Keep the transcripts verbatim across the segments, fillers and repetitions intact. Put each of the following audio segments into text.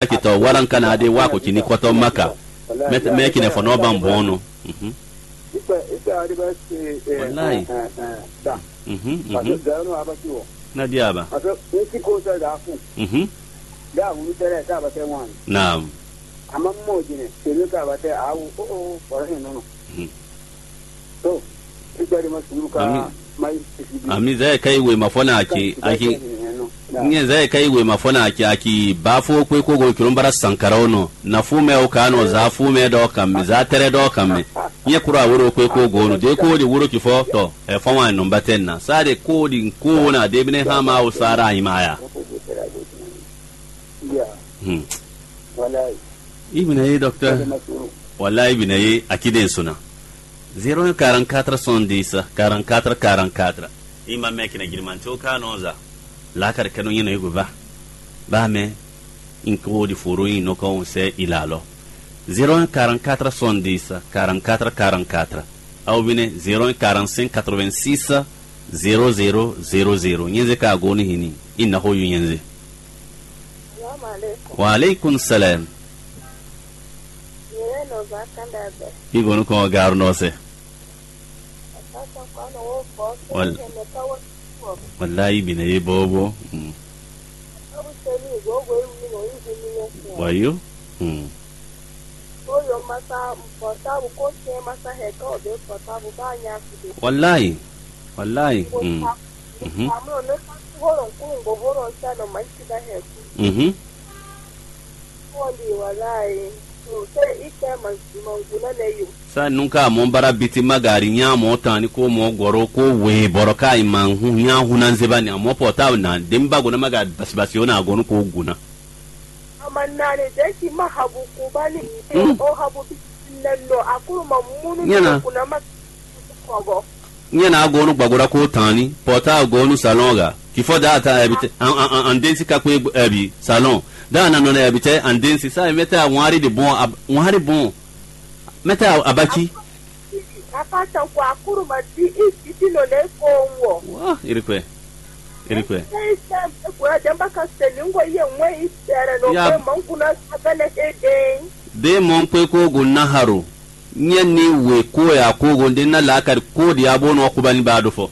Kitɔ wala nka na de wa ko kini kɔtɔ maka. Mɛ mɛ kine fɔ nɔ ban bɔn nɔ. Mhm. Ikpe ikpe adi bɛ se. Wallahi. Mhm, mhm. Zɛrɛ nɔ abati wɔ. Na di aba. Parce que n ti ko sɛ da fu. Mhm. Da wu tɛ lɛ sa ba tɛ wan. Naam. Ama mo jine se ne ka ba tɛ awu o o fɔlɔ hin nɔnɔ. Mhm. To ikpe adi ma sulu ka. Ami. Mai sisi bi. Ami zɛ kai we ma fɔ na aki aki. Nye zɛ kai we ma fɔ na aki aki ba fo kwe ko go kilomba sankara o nɔ. Na fu mɛ o ka nɔ za fu mɛ dɔ kan mɛ za tɛrɛ dɔ kan mɛ. Nye kura wuro kwe ko go no de ko di wuro ki fɔ tɔ. E fɔ wa nɔmba tɛ na. Sa de ko di ko na de bine ha ma o sara ayi ma ya. Hmm. Ibn ye docteur. Wallahi ibn ye akide suna. Zéro un quarante-quatre soixante-dix quarante-quatre quarante-quatre. Ima mɛ kina girimanto ka nɔza. La kar kanu yina yugo va. Ba mɛ. Inko di foro in no ka on se ilalo. Zéro un quarante-quatre soixante-dix quarante-quatre quarante-quatre. Aw bine zéro un quarante-cinq quatre-vingt-six zéro zéro zéro zéro. Nyenze ka goni hini. Inna ho yu nyenze. Salam alaikum. Wa alaikum salam. Yeye no ba kanda be. Igo no ko garu no se. Asa sa kwa no wo ko. Wal- Ke me ka wo ko. Wallahi bine ye bobo. Mm. Abu se ni go go yi no yi ni no ko. Wayo. Mm. Ko yo masa portable ko se masa he ko be portable ba nya ku de. Wallahi. Wallahi. Mm. Mhm. Mhm. Sa nunca mɔ bara biti magari nya mɔ tan ni ko mɔ goro ko we boro ka ima hu nya hu na nzeba ni amɔ pota na dem ba gona maga basi basi ona gonu ko guna. Ama nani de ki ma habu kubani. Mm. O habu bi neno akuru ma munu. Nyana. Kuna ma kogo. Nye na agonu gbagora ko tani, pota agonu salon ga. Kifo da ta ebite an an an densi ka kwe ebi salon. Da na no na ebite an densi sa mete a wari de bon ab wari bon. Mete a abaki. Apa tan ko akuru ma di i siti no ne ko wo. Wa irikwe. Irikwe. Sei sem e kura jamba ka se ningo ye mwe i sere no. Ya. Pe mankuna sabele e den. De mon kwe ko go naharo. Nye ni we ko ya ko go de na la kar ko di abo no kuba ni ba do fo.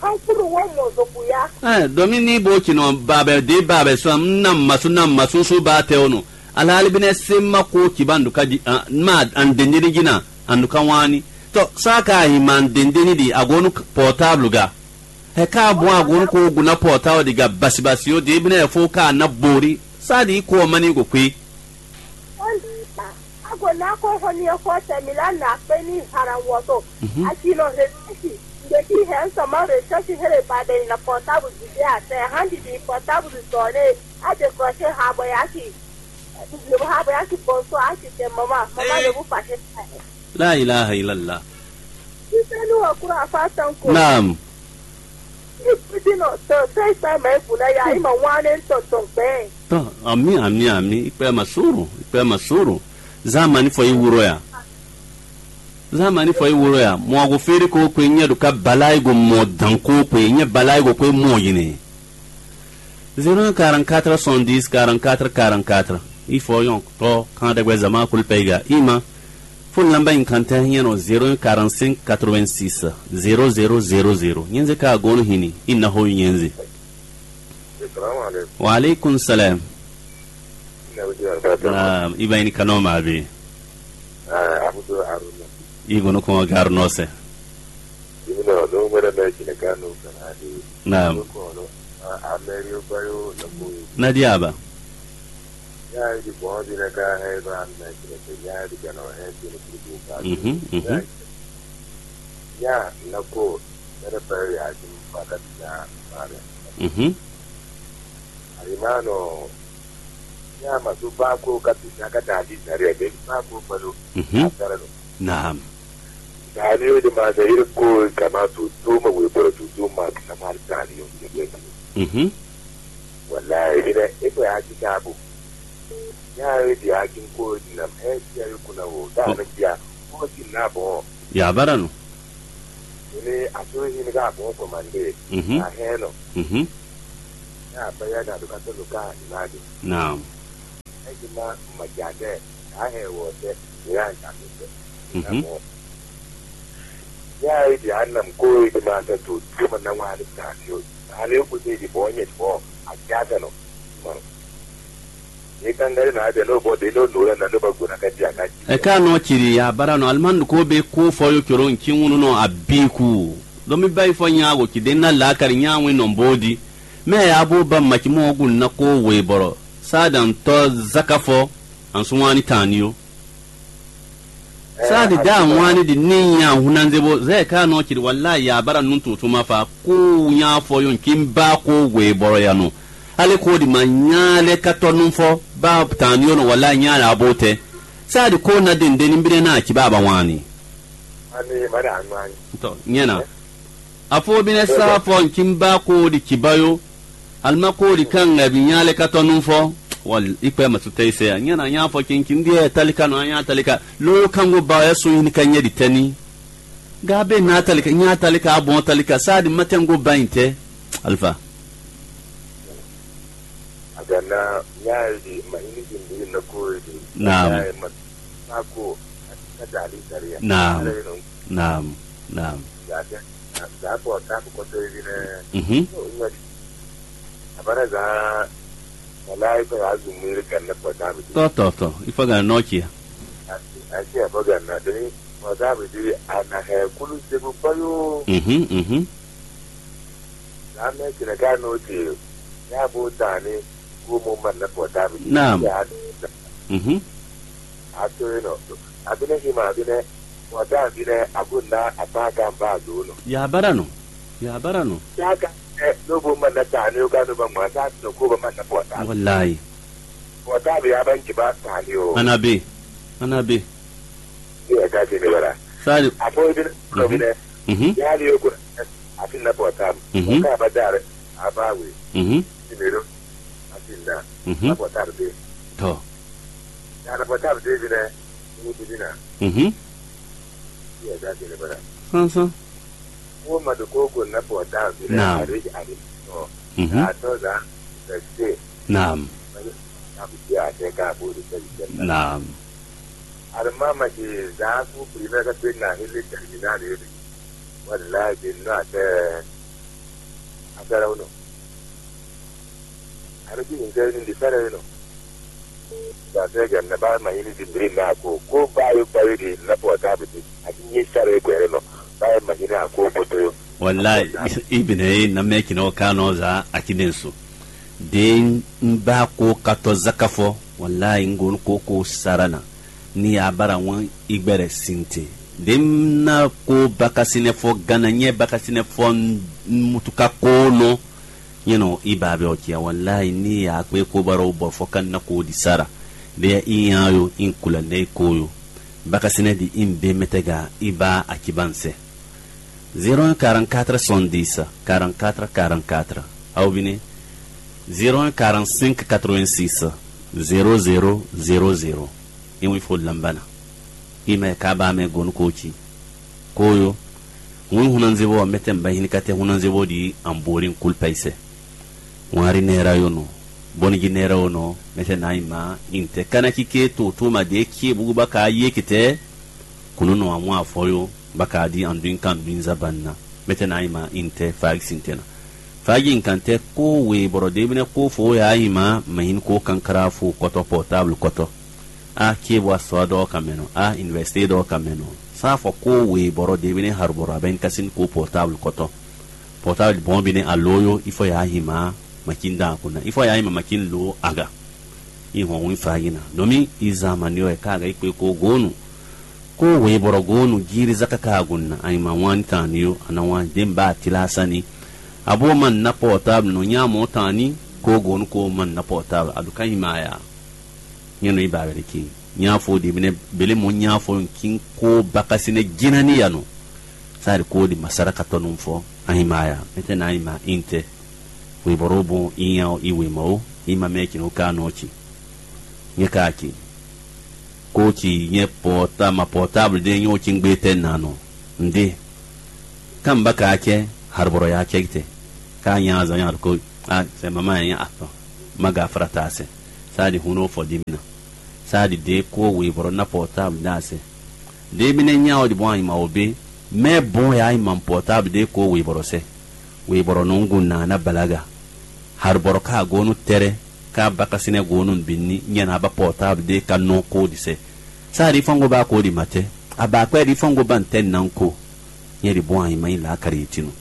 Kankuru wo mo zoku ya. Eh, domi ni bo ci no ba be de ba be so na masu na masu su ba te ono. Ala ali bine se ma ko ci ba nduka di ah, ma an de ni di na an nduka wani. To sa ka hi man de ni di agonu portable ga. He ka bon agonu ko guna portable di ga basi basi o de bine fo ka na bori. Sa di ko mani go kwi. Ago na ko hɔn ni xɔ tɛ mi la na kpe ni hara wɔto. Mhm. Aki nɔ recherche. Nde ki hɛn sama recherche here ba de na portable di de a tɛ han di di portable sɔ ne a décrocher ha bɔ ya ki. Ha bɔ ya ki bonso a ki tɛ mama mama le bu fâché. La ilaha illallah. Sisɛnu wa kura fa tan ko. Naam. Ni kpidinɔ tɔ sɛ ikpɛ mɛ bu na ya ima wane tɔ tɔ gbɛ. Tɔ ami ami ami ikpɛ ma suru ikpɛ ma suru. Zamani fɔ yi wuro ya. Zamani fɔ yi wuro ya. Mɔ ago feri ko kwe nyɛ do ka bala yi go mɔ dan ko kwe nyɛ bala yi go kwe mɔ yine. Zéro un quarante-quatre soixante-dix quarante-quatre quarante-quatre. Il faut yon to kan dagbe zama kul pega ima. Fo lamba in kante nyɛ no zéro un quarante-cinq quatre-vingt-six zéro zéro zéro zéro. Nyenze ka gonu hini. Inna ho nyenze. Salamu alaikum. Wa alaikum salam. Ina wuce wa ta. Naam, iba ini kano ma bi. Ah, Abdul Haruna. Igo no ko garu no se. Ina no mera me kine kanu kana di. Naam. Ko no. Ah, amerio bayo na ko. Na di aba. Ya di bon di na ka he ba na kine ke ya di kana he di ko ka. Mhm, mhm. Ya na ko. Mera bayo ya di ba ka di na. Mhm. Alimano, ya masu ba ko ka tu na ka ta di na re be ba ko palo. Mhm. Atara no. Naam. Dani o de ma de ire ko ka ma tu tu ma we boro tu tu ma ka ma dani o de be. Mhm. Wallahi ire e ko ya ki ka bu. Ya e di akin ko di na e ti ya ko na wo. Da na ya. Ko ti na bo. Ya baranu. Ini asuri ini ka bon commandé. Mhm. A heno. Mhm. Ya baya da duka to luka imadi. Naam. ma ma ja tɛ, a hɛn wɔ tɛ, ya ja mi tɛ. Mhm. Ya yi di anam ko yi di ma tɛ to, di ma na wa ni ta fi o. Ale ko te di bɔ nyɛ bɔ a ja tɛ no. Ma. Ni kan gari na de no bɔ de no no na no ba go na ka ti a ka ti. Ɛ ká nɔ ciri ya bara nɔ alimándu ko be ko fɔ yo coro ŋci ŋunu nɔ abiku. Dɔ mi ba yi fɔ nya go ci de na la kari nya ŋwe nɔ bo di. Mɛ ya bo ba maci mɔ gu na ko we bɔrɔ. Sa dan tɔ zaka fɔ. An sun wani tan ni yo. Saadi da wani di ni nya hunanze bo zɛ ka nɔ ciri wala ya bara nun tutu ma fa ku nya fɔ yon kin ba ko we bɔrɔ ya no. Ale ko di ma nya le ka tɔ nun fɔ ba tan ni yo no wala nya la bo tɛ. Saadi ko na de nde ni bi na ci ba ba wani. Ani mari anwani. To nyena. Afo bine sa fɔ nkin ba ko di ciba yo. Alima ko di kan ŋa bi nya le ka tɔ nun fɔ. Wal ikpɛ ma su tɛ ise ya. Nya na nya fɔ kinkin di ɛ talika no nya talika. Lo kango ba ɛ so yin ka nya di tɛni. Ga be na talika nya talika abɔn talika sa di ma tɛngo ba yin tɛ. Alfa. Agana nya di ma ini di mbiri na ko di. Naam. Nya ma ko ka dali dali ya. Naam. Naam. Naam. Zaa bɔ tabu kɔtɔ yi nɛ. Mhm. Abana zaa wala yi kɔ azu miri kan ne kɔ tabu. Tɔ tɔ tɔ. Ifɔ gan nɔ cia. Asi abɔ gan na deni kɔ tabu di ana hɛ kulu segu kɔyo. Mhm. Mhm. Zaa mɛ kina ka no ti ya bo tani ko mo man ne kɔ tabu. Naam. Mhm. Ato yi nɔ. Abinɛ hima abinɛ. Kɔ tabu ne ago na apa kan ba do nɔ. Ya bara nɔ. Ya bara nɔ. Saka ɛ lóbo ma na ta ni o ka no ba ma ta no ko ba ma na pɔta. Wallahi. Pɔta bi a ban ki ba ta ni o. Anabe. Anabe. Ni e ka ti ni bara. Sali. A fo bi no bi ne. Mhm. Ya li o ko a ti na pɔta. Mhm. Ka ba dare. A ba we. Mhm. Ti me ro. A ti na. Mhm. A pɔta bi. To. Ya na pɔta bi de bi ne. Ni bi na. Mhm. Ni e ka ti ni bara. Sansan. Wo ma ɖo kókó ná pɔtábli. Naam. Ari ari tɔ. Mhm. Atɔ zan fɛsɛ. Naam. Mali na bi di ate ka bo de sɛ sɛ. Naam. Ari ma ma di zan ku primɛ ka pe na hele terminal yo di. Wala di no ate. Asara uno. Ari ki ni sɛ ni di sara uno. Dasɛ gɛ na ba ma yini di bri na ko ko ba yo ba yo di na pɔtábli di. Ati nye sara ko yɛrɛ nɔ. Ba ma yini a ko ko to yo. Wallahi, ibine na me kino kano za akiden su. Den ba ko kato zakafo. Wallahi ngon ko ko sarana. Ni abara wan igbere sinte. Den na ko bakasinɛ fɔ gana nye bakasinɛ fɔ mutuka ko no. Nyɛnɔ i ba bɛ ɔcia wallahi ni ya kpe ko baro bɔ fɔ kan na ko di sara. De i nya yo in kula ne ko yo. Bakasinɛ di in be metega i ba akiban se. Zéro un quarante-quatre soixante-dix quarante-quatre quarante-quatre. Aw bine. Zéro un quarante-cinq quatre-vingt-six zéro zéro zéro zéro. In wi fo lambana. I mɛ ka ba mɛ gonu ko ci. Koyo. Hun hunanzebo mete mba hinikate hunanzebo di ambori kulpa ise. Ŋwari nɛra yo nɔ. Bɔnigi nɛra yo nɔ. Mete na ima inte kana kike to to ma de kie bugu ba ka ye kite. Kunu nɔ amu afɔ yo ba ka di anduin kan duin zaban na. Mete na ima inte fag sintena. Fagi nkante ko we boro debine ko fo ya ima mahin ko kankara fu koto portable koto. A kie bo asɔ dɔ kamɛnɔ a université dɔ kamɛnɔ. Sa fɔ ko we boro debine har boro aben kasin ko portable koto. Portable bon bine a loyo ifo ya hima makin da kuna ifo ya hima makin lo aga. I hɔn win fa yina domi i zamani o e ka aga ikpe ko gonu. Ko we boro gonu jiri zaka ka gunna a ima wan tan ni yo ana wan den ba tila sani. Abo man na portable no nya mo tan ni ko gonu ko man na portable aduka ima ya. Nyɛnɔ i ba wɛrɛ ki nya fo de bine bele mo nya fo kin ko bakasine jina ni ya no. Sari ko di masara ka tɔnu fɔ ahima ya mete na ahima inte. Webɔrɔ bon inya i wema o ima mɛ kino ka nɔ ci. Nyɛ ka ci ko ci nyɛ pɔta ma portable de nyɛ o ci ngbe tɛ na nɔ nde. Kan ba ka cɛ harbɔrɔ ya cɛ te. Ka nya zan ya ko a sɛ mama ya atɔ ma ga fara ta sɛ. Sa di huno fɔ di mina. Taɖi ɖě kó wěbɔ́ ná pɔtáblu ɖó asɛ. Ɖěbínɛ́ nyá ɔ́ ɖi bɔ́ anyima wǒ bé, mɛ bɔ́n yá yi ma pɔtáblu ɖě kó wěbɔ́ sɛ. Wěbɔ́ nɔ ŋgun nǎ ná balaga. Harubɔrɔ ka agonu tɛrɛ, ka bakasínɛ gonu bini nyɛ na ba pɔtáblu ɖě ka nɔ kó ɖi sɛ. Sa ɖi fɔ́ngo ba kó ɖi matɛ. Aba kwɛ ɖi fɔ́ngo ba ntɛ nan ko. Nyɛ ɖi bɔ́ anyima yi la kari tinu.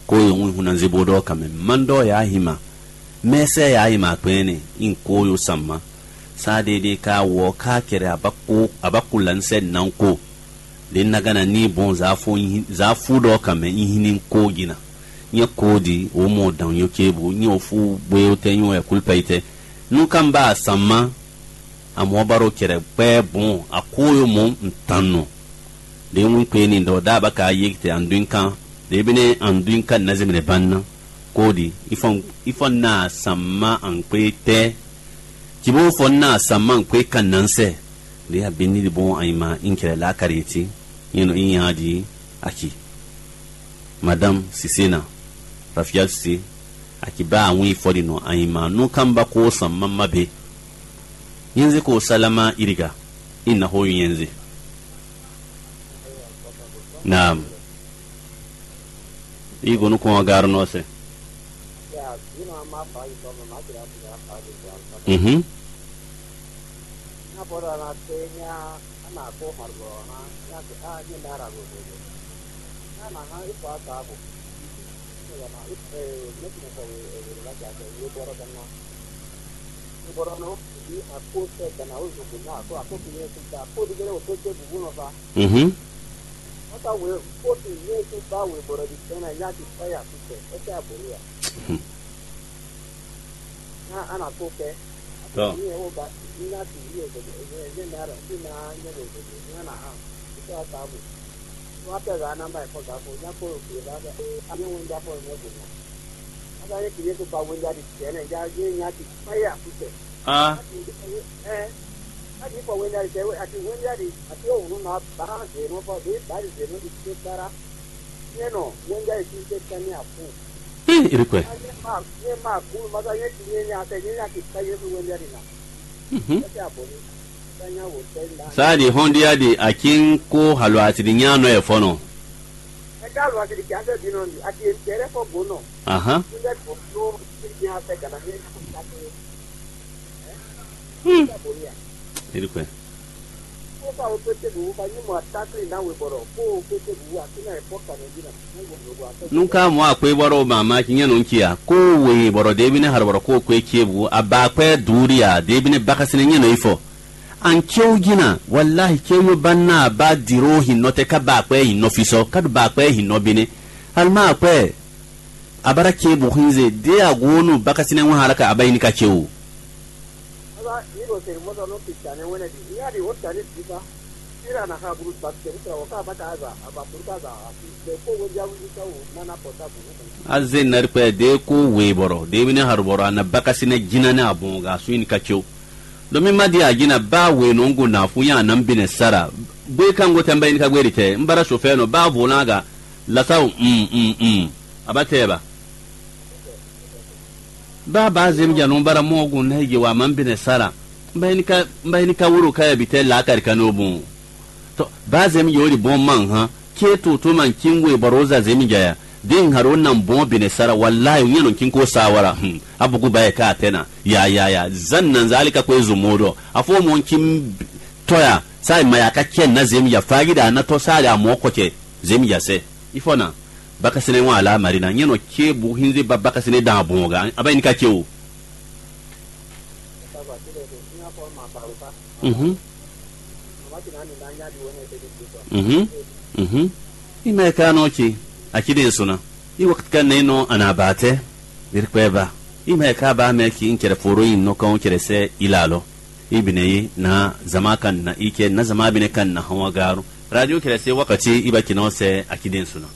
Ko yo ŋu hun na zebo ɖɔ kamɛ mandɔ ya hima. Mɛsɛ ya hima kpɛnɛ in ko yo samma. Sa ɖe ɖe ka wɔ ka kɛrɛ abako abako lansɛ nan ko. Ɖe nagana ni bɔn zafu zafu ɖɔ kamɛ in hin ko gina. Nyɛ ko di wo mɔ dan yo ke bu nyɛ o fu bwe o tɛ nyɛ o ɛkul pɛ itɛ. Nu kan ba samma. Amɔ̌ ba ɖo cɛɖɛ kpɛ́ bɔn akóyomɔ ntannɔ. Ɖě wín kpe ni ɖɔ ɖá ba ka yí te andúin kan. Ɖě bí nɛ́ andúin kan ná zé mɛ ba ná. Kóɖi ifɔn ifɔn ná samma ankpé tɛ́. Cibó fɔ ná samma ankpé kan ná sɛ. Ɖě abí ní ɖi bɔn anyima in cɛɖɛ lá kari ti. Nyɛ nɔ in nya ɖi aki. Madame Sisena, Rafael Sise, akiba awin fɔɖi nɔ anyima nú kamba ko san mama be. Nyenze ko salama iriga, ina ho nyenze. Naam. Igo nukun ɔ́ garɔ nɔ se. Mhm. Mhm. Tɔ. Ah. Ih, iri kwɛ. Mhm. Sáà di hɔn dia di akin kó halo atidi nya nɔ yɛ fɔnɔ. Ahan. Hmm. Iri kwɛ. Nunca mɔ akpé bɔrɔ o mama ki nyɛ nɔ ŋki a ko wee bɔrɔ debi ne harɔ bɔrɔ ko kwe kie bu aba akpɛ duuri a debi ne bakasine nyɛ nɔ ifɔ. An cewu jina wallahi cewu yo ba na ba diro hin nɔ tɛ ka ba akpɛ hin nɔ fisɔ ka do ba akpɛ hin nɔ bene. Alima akpɛ abara kie bu hinze de agonu bakasine ŋu hala ka aba yin ka cewu. Aze nari kpɛ de ko wee bɔrɔ de bi ne haru bɔrɔ ana bakasine jina ne abɔn ga su yin ka cewu. Domi ma di ajina ba wee nɔ ŋgo na fu nya anam bi ne sara. Gbe ka ŋgo tɛ mba yin ka gbe ri tɛ mbara sofɛ nɔ ba vo na ga lasawu mm mm mm. Aba tɛ ba. Ba ba zem ja nɔ bara mɔ gun na je wa man bine sara. Mba ini ka mba ini ka wuro ka ya bite la kari ka no bun. To ba zem yo di bon man ha. Ke to to man kingo e baroza zem ja ya. Din haro nan bon bine sara wallahi nyɛ no kinko sawara. Hmm. Abugu ba e ka atena. Ya ya ya. Zan nan zali ka kwe zumodo. Afo mon kim toya. Sai maya ka chen na zem ja fagi da na to sali amo ko che. Zem ja se. Ifo na. Bakasene ŋu alá Marina nyɛ nɔ ce bu hínzé ba bakasene dan bɔn ga aba yi ni ka ce o. Mhm. Mhm. Mhm. Ima e ka nɔ ce a ci den suna. I wakati ka ne nɔ ana ba tɛ. Birikpɛ ba. Ima e ka ba mɛ ki n cɛrɛ foro yi nɔ kan cɛrɛ sɛ ila lɔ. I bine yi na zama kan na i kɛ na zama bine kan na hawa garu. Radio cɛrɛ se wakati i ba ci nɔ sɛ a ci den suna.